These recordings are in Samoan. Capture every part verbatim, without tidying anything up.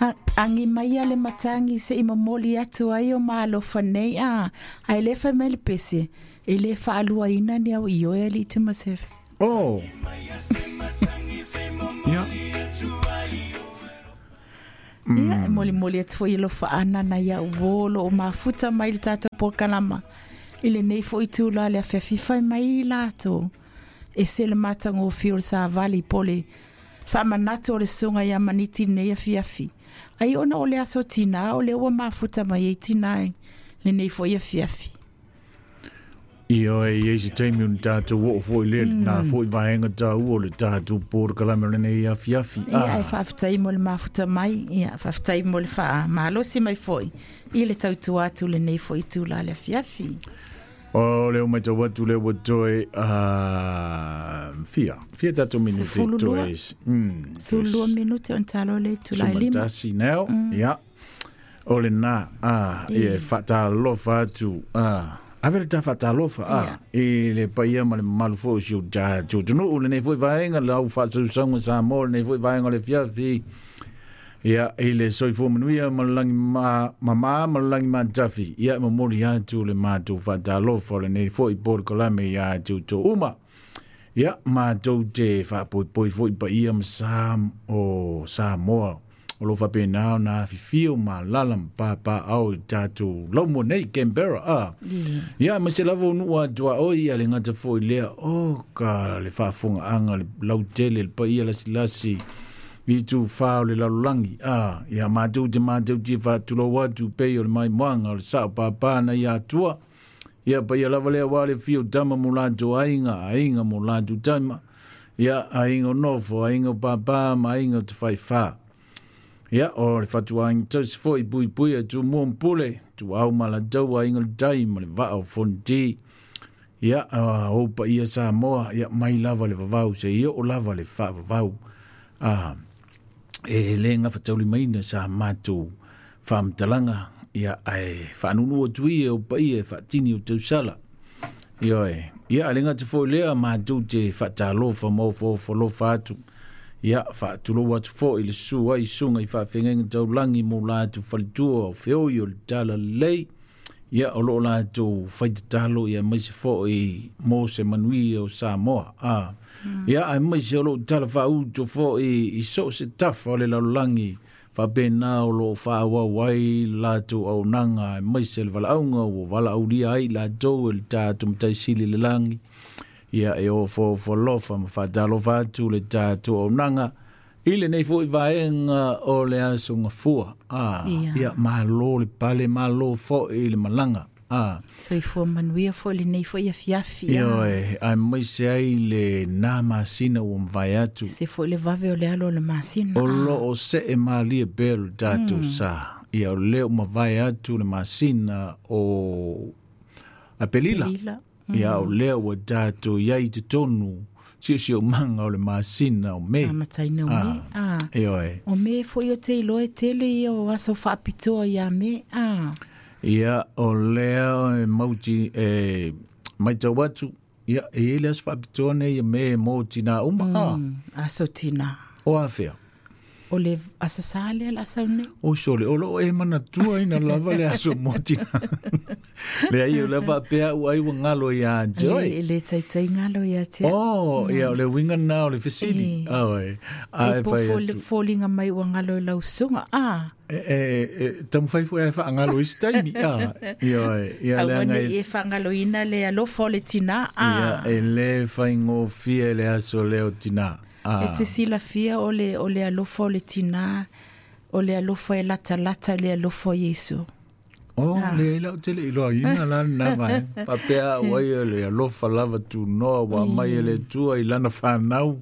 Agi mai a le matagi seʻi momoli atu ai o maalofa nei a ae lē fai mai le pese e lē faaluaina ni au ioe alii Tumasefe. Oh. Ia. Ia, e molimoli atu foʻi alofaʻana na ia uō loo mafuta mai le tatou polokalama i lenei foʻi tula le afiafi fai mai latou e se le matagofie o le savali po le faamanatu o le susuga iā Maniti lenei afiafi ai ona o le aso tinā o lea ua mafuta mai ai tinā lenei foʻi afiafi. Ioe, i ai se taimi o ni tātou oo foi lea, mm. nā foi vaenga tāua o le tātou polokalame o lenei afiafi. Ia, ah. E faafetai mo le mafuta mai, ia, faafetai mo le faamalosi mai foi i le tautua atu lenei foi tula le afiafi. O leo mai tau atu le ua toe uh, fia, fia tātou minute toe. Mm, Sefulu lua minute on talo le tula e lima. Sumatasi neo, mm. Ia. O le nā, ah, ia, faatalofa atu, ah. Ave le tā faatalofa, ah, i le paia ma le mamalu foi o si o tātou atunuu lenei foi vaega, le au faasausauga Samoa lenei foi vaega o le afiafi. Ia, i le soifua manuia ma le lagi ma, mamā ma le lagi matafi. Ia, e momoli atu le matou faatalofa o lenei foi polokalame iā toutou uma. Ia, matou te faapoipoi foi paia ma sa o Samoa. O lo faapena ona afifio ma alala ma papaao i tatou laumua nei Canberra. Ah. Ia, ma se lava o nuu atuaoi ia le gata foi lea o ka le faafogaaga le lautele le paia lasilasi i tufā o le lalolagi. Ah, ia matou te matou te faatulou atu pei o le maimoaga o le sao pāpā na ia atua. Ia paia lava lea ua le fio tama mo latou aiga, aiga mo latou tama. Ia, aiga o nofo, aiga o pāpā ma aiga o te faifā. Ia, o le fatuaiga tausi foi puipui a Tumua ma Pule, tuau ma latou aiga le tai ma le vaa o Fonoti. Ia, o paia Samoa, ia mai lava le vavau, se i oo lava le faavavau. Ah, e le gafataulimaina sa matou faamatalaga, ia ae faanunu atu ia o paia e faatini o tausala. Ioe, ia a le gata foi lea matou te faatalofa ma ofoofolofa atu. Ia, faatulou atu foi le susu ai susuga i faafeagaiga taulagi mo latou faletua o feoi o le talalelei. Ia, o loo latou faitatalo ia maise foi mo se manuia o Samoa. Ah. Mm. Ia, ae maise o loo tala faauto foi i so o se tafa o le lalolagi faapena o loo faaauau ai latou auaunaga ae maise le valaauga ua valaaulia ai latou e le tatou Mataisili i le lagi. Ia, e ofoofolofa ma faatalofa atu le tatou auaunaga i lenei foi vaega o le aso gafua. Ah, Ia. Ia, malo le pale, malo foi le malaga. Ah. Soifua manuia foi lenei foi afiafi. Ah. Ioe, ae maise ai le nā masina ua mavae atu. Se foi le vave o le alo o le masina. O loo see malie pea le tatou sa. Ia, o lea ua mavae atu le masina o Apelila. Pelila. Ia, o lea ua tatou iai i totonu siosiomaga o le masina o Me. Amataina o Me. Ah. Ioe. O Me foi o te iloa e tele ia o aso faapitoa ia Me. Ah. Ia, o lea e mauti e maitau atu, ia, e i ai le aso faapitoa nei ia Me mo tinā uma. Ah. Mm, aso tinā. O afea? O le aso sa lea la sau nei. O sole, o loo e manatua ina lava le aso mo tinā. Le ai o le faapea ua ai ua galo iā te oe. Le, le taitai galo ia te. Oh, ia, o le uiga lena o le fesili. E. Oe. A E e po fai foli- atu. foliga mai ua galo i lau susuga. Ah. E, e, e, taumafai foi ae faagalo i se taimi. Ah, ioe, ia Aua leaga nei e e faagaloina le alofa o le tinā. Ah. Ia, e lē faigofie le aso lea o tinā. Ah. E te silafia o le, o le alofa o le tinā, o le alofa e latalata i le alofa o Iesu. Oh, leai lau tele iloaina la lena vaega. Faapea au ai o le alofa lava tunoa ua aumai e le Atua i lana fanau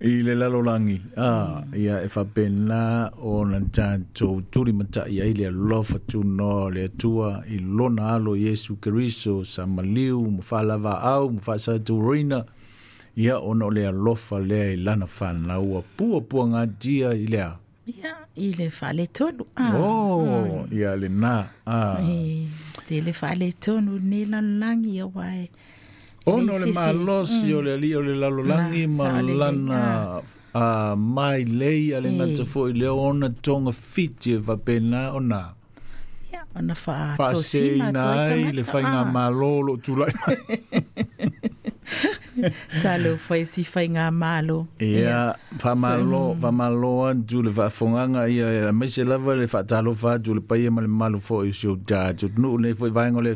i le lalolagi. Ah, ia e faapena ona tatou tulimatai ai le alofa tunoa o le Atua i lona alo Iesu Keriso sa maliu ma faalavaau ma faasaturoina. Ia, ona o le alofa lea i lana fanau ua puapuagatia i lea. Ia, i le faaletonu. Ah. Oh, ia lena. Ah. E, tele faaletonu nei lalolagi ia ua e Ona o le malosi o le alii o le lalolagi Na, ma saolelei, lana a mai lei a le gata foʻi lea ona togafiti e faapena ona Ia, ona faatosina faaseseina atu ai ai le tagata. faigamālō o loo tulaʻi mai. Talo fai si faigamālō. Ia, faamālō, faamālō atu le faafogaga ia aemaise lava le faatalofa atu le paia ma le mamalu foʻi o si ou tatou atunuu lenei foʻi vaega o le.